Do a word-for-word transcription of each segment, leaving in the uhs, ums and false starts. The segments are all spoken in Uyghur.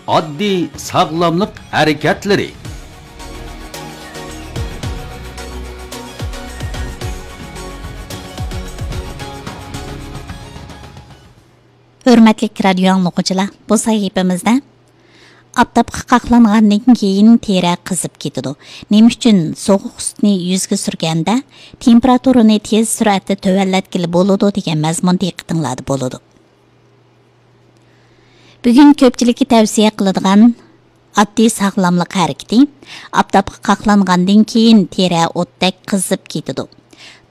ئاددىي ساغلاملىق ھەرىكەتلىرى. ھۆرمەتلىك رادىيو ئاڭلىغۇچىلار، بۇ سەھىپىمىزدە ئاپتاپقا قاقلانغاندىن كېيىن تېرە قىزىپ كېتىدۇ. نېمە ئۈچۈن سوغۇق سۈتنى يۈزگە سۈرگەندە تېمپېراتۇرىنى تېز سۈرئەتتە تۆۋەنلەتكىلى بولىدۇ دېگەن مەزمۇن دىققىتىڭلاردا بولىدۇ. بۈگۈن كۆپچىلىككە تەۋسىيە قىلىدىغان ئاددىي ساغلاملىق ھەرىكىتى، ئاپتاپقا قاقلانغاندىن كېيىن تېرە ئوتتەك قىزىپ كېتىدۇ.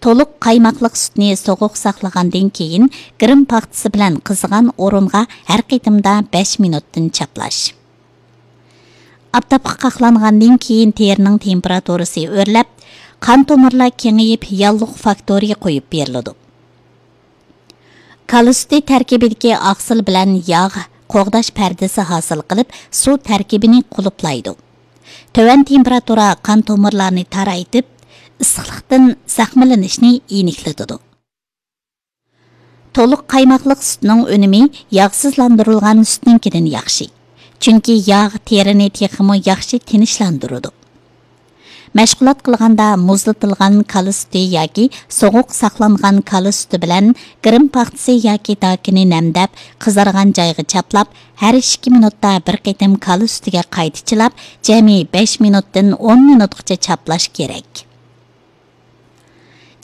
تولۇق قايماقلىق سۈتنى سوغۇق ساقلىغاندىن كېيىن، گىرىم پاختىسى بىلەن قىزىغان ئورۇنغا ھەر قېتىمدا بەش مىنۇتتىن چاپلاش. ئاپتاپقا قاقلانغاندىن كېيىن تېرىنىڭ تېمپېراتۇرىسى ئۆرلەپ، قان تومۇرلار كېڭىيىپ، ياللۇغ فاكتورى قويۇپ بېرىلىدۇ. كالا سۈتى تەركىبىدىكى ئاقسىل بىلەن ياغ قوغداش پەردىسى ھاسىل قىلىپ، سۇ تەركىبىنى قۇلۇپلايدۇ. تۆۋەن تېمپېراتۇرا قان تومۇرلارنى تارايتىپ، ئىسسىقلىقتىن زەخىملىنىشنى يېنىكلىتىدۇ. تولۇق قايماقلىق سۈتنىڭ ئۈنۈمى ياغسىزلاندۇرۇلغان سۈتنىڭكىدىن ياخشى. چۈنكى ياغ تېرىنى تېخىمۇ ياخشى تىنچلاندۇرىدۇ. مەشغۇلات قىلغاندا مۇزلىتىلغان كالا سۈتى ياكى سوغۇق ساقلانغان كالا سۈتى بىلەن گىرىم پاختىسى ياكى داكىنى نەمدەپ، قىزارغان جايغا چاپلاپ، ھەر ئىككى مىنۇتتا بىر قېتىم كالا سۈتىگە قايتا چىلاپ، جەمئىي بەش مىنۇتتىن ئون مىنۇتقىچە چاپلاش كېرەك.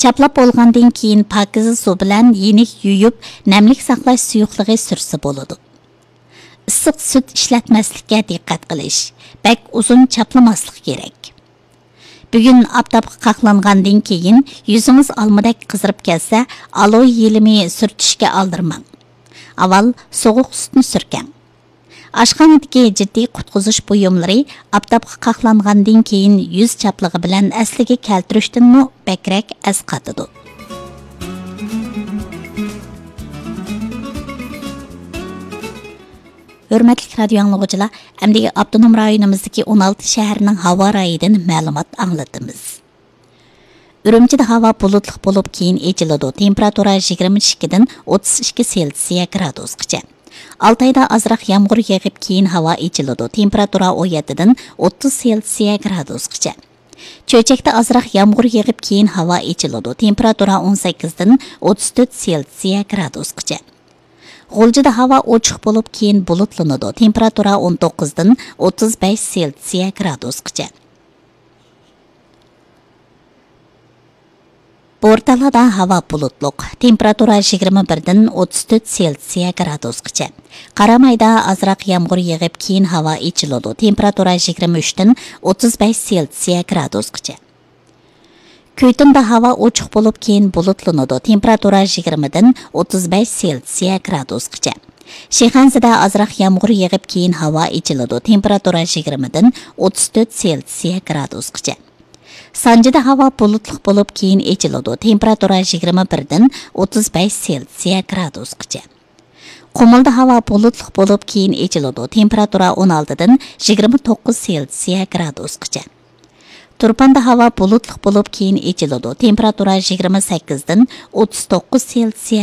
چاپلاپ بولغاندىن كېيىن پاكىزە سۇ بىلەن يېنىك يۇيۇپ، نەملىك ساقلاش سۇيۇقلۇقى سۈرسە بولىدۇ. ئىسسىق سۈت ئىشلەتمەسلىككە دىققەت قىلىش، بەك ئۇزۇن چاپلىماسلىق كېرەك. بۈگۈن ئاپتاپقا قاقلانغاندىن كېيىن يۈزىڭىز ئالمىدەك قىزىرىپ كەتسە، ئالوي يېلىمى سۈرتۈشكە ئالدىرىماڭ. ئاۋۋال سوغۇق سۈتنى سۈركەڭ. ئاشخانىدىكى جىددىي قۇتقۇزۇش بۇيۇملىرى ئاپتاپقا قاقلانغاندىن كېيىن يۈز چاپلىقى بىلەن ئەسلىگە كەلتۈرۈشتىنمۇ بەكرەك ئەسقاتىدۇ. ھۆرمەتلىك رادىيو ئاڭلىغۇچىلار، ئەمدى ئاپتونوم رايونىمىزدىكى ئون ئالتە شەھەرنىڭ ھاۋا رايىدىن مەلۇمات ئاڭلىتىمىز. ئۈرۈمچىدە ھاۋا بۇلۇتلۇق بولۇپ، كېيىن ئېچىلىدۇ. تېمپېراتۇرا يىگىرمە ئىككىدىن ئوتتۇز ئىككى سېلسىيە گرادۇسقىچە. ئالتايدا ئازراق يامغۇر يېغىپ، كېيىن ھاۋا ئېچىلىدۇ. تېمپېراتۇرا ئون يەتتىدىن ئوتتۇز سېلسىيە گرادۇسقىچە. چۆچەكتە ئازراق يامغۇر يېغىپ، كېيىن ھاۋا ئېچىلىدۇ. تېمپېراتۇرا ئون سەككىزدىن ئوتتۇز تۆت سېلسىيە گرادۇسقىچە. غۇلجىدا ھاۋا ئوچۇق بولۇپ، كېيىن بۇلۇتلىنىدۇ. تېمپېراتۇرا ئون توققۇزدىن ئوتتۇز بەش سېلسىيە گرادۇسقىچە. بورتالادا ھاۋا بۇلۇتلۇق، تېمپېراتۇرا يىگىرمە بىردىن ئوتتۇز تۆت سېلسىيە گرادۇسقىچە. قارامايدا ئازراق يامغۇر يېغىپ، كېيىن ھاۋا ئېچىلىدۇ. تېمپېراتۇرا يىگىرمە ئۈچتىن ئوتتۇز بەش سېلسىيە گرادۇسقىچە. كۈيتۇندا ھاۋا ئوچۇق بولۇپ، كېيىن بۇلۇتلىنىدۇ. تېمپېراتۇرا يىگىرمىدىن ئوتتۇز بەش سېلسىيە گرادۇسقىچە. شىخەنزىدە ئازراق يامغۇر يېغىپ، كېيىن ھاۋا ئېچىلىدۇ. تېمپېراتۇرا يىگىرمىدىن ئوتتۇز تۆت سېلسىيە گرادۇسقىچە. سانجىدا ھاۋا بۇلۇتلۇق بولۇپ، كېيىن ئېچىلىدۇ. تېمپېراتۇرا يىگىرمە بىردىن ئوتتۇز بەش سېلسىيە گرادۇسقىچە. قۇمۇلدا ھاۋا بۇلۇتلۇق بولۇپ، كېيىن ئېچىلىدۇ. تېمپېراتۇرا ئون ئالتىدىن يىگىرمە توققۇز سېلسىيە گرادۇسقىچە. تۇرپاندا ھاۋا بۇلۇتلۇق بولۇپ، كېيىن ئېچىلىدۇ. تېمپېراتۇرا يىگىرمە سەككىزدىن ئوتتۇز توققۇز سېلسىيە